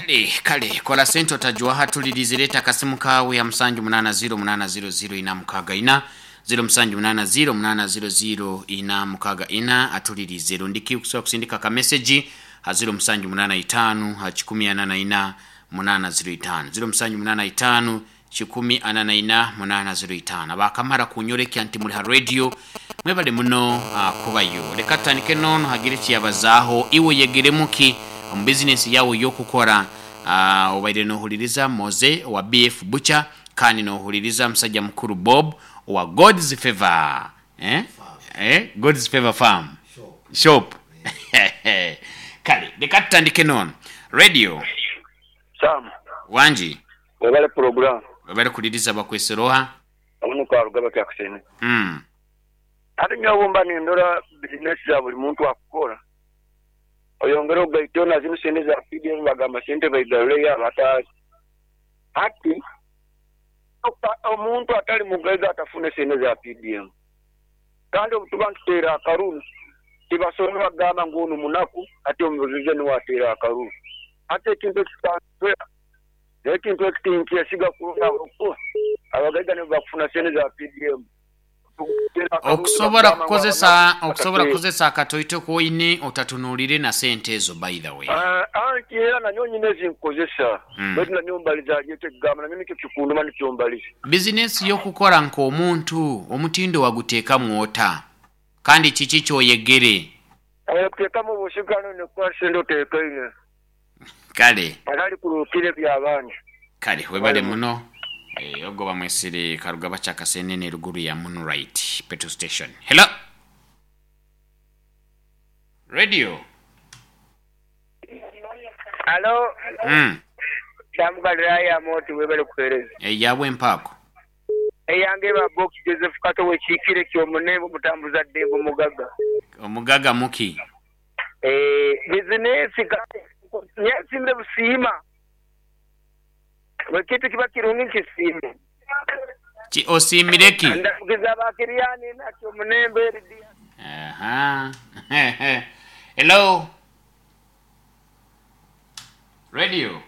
Kale kale, kola sente otajwaha. Tulirize, leeta akasimu kaawe ha 780800464, 0780800464, atulirize. Rundiki okusobola kusindika akameseji ha 0785 ha 144 805, 0785 144 805. Abakamara kunyorekya nti muli ha radio, mwebale muno kubayo. Leka tutandike nono hagire ekiyabazaaho. Iwe oyegeremu ki omu bizinesi yawe ey'okukora? Obaire nohuliriza Moze owa BF Butcher, kandi nohuliriza musajja mukuru Bob owa God's Favor, eh? Eh? God's Favor Farm Shop. Kale leka tutandike nono. Radio. Sam. Wangi. Webale program. Webale kuliriza, bakwesere oha? Ono Karugaba Jackson. Ate nyowe bwemba nindora bizinesi za buli muntu akukora, oyongere ogaiteho na zinu sente za PDM, bagamba sente baigarureyo abatazi. Hati omuntu atali mugaiga atafune sente za PDM. Kandi obutuba nituteera akaruru, tibasobora kugamba ngu onu munaku ati omugaiga nuwe ateera akaruru. Hati ekintu ekikanswera, n'ekintu eki tinkyesiga kurungi ahabw'okuba abagaiga nibo bakufuna sente za PDM. Okusobora kukozesa okusobora kukozesa akatoito koine otatunuulire na sente ezo by the way. Anti era nanyowe nyine ezinkukozesa, baitu nanyowe mbaliza hali ekyo ekigambo, nanyowe nikyo kikunduma nikyo mbaliza. Bizinesi y'okukora nk'omuntu, omutindo waguteekamu ota? Kandi kiki ky'oyegere? Kuteekamu obusigano oine kuba sente oteekaine. Kale. Atali kuruukira eby'abandi. Kale webale muno. Ogwo bamwesire Karugaba Kyakasenene eruguru ya Moonlight petrol station. Hello. Radio. Halo. Sam Galilaya Amooti webale kuhereza. Eyabwe mpaako. Eyange eba Box Joseph Kato wekiikire Kyomunembe omutambuza ddembe omugaga. Omugaga muki? Eeh bizinesi kale nyesimire busiima buli kintu kiba kirungi nkisiime. Ki osiimire ki? Ndamukiza aba Kiriani na Kyomunembe Lydia. Aha. Hello. Radio.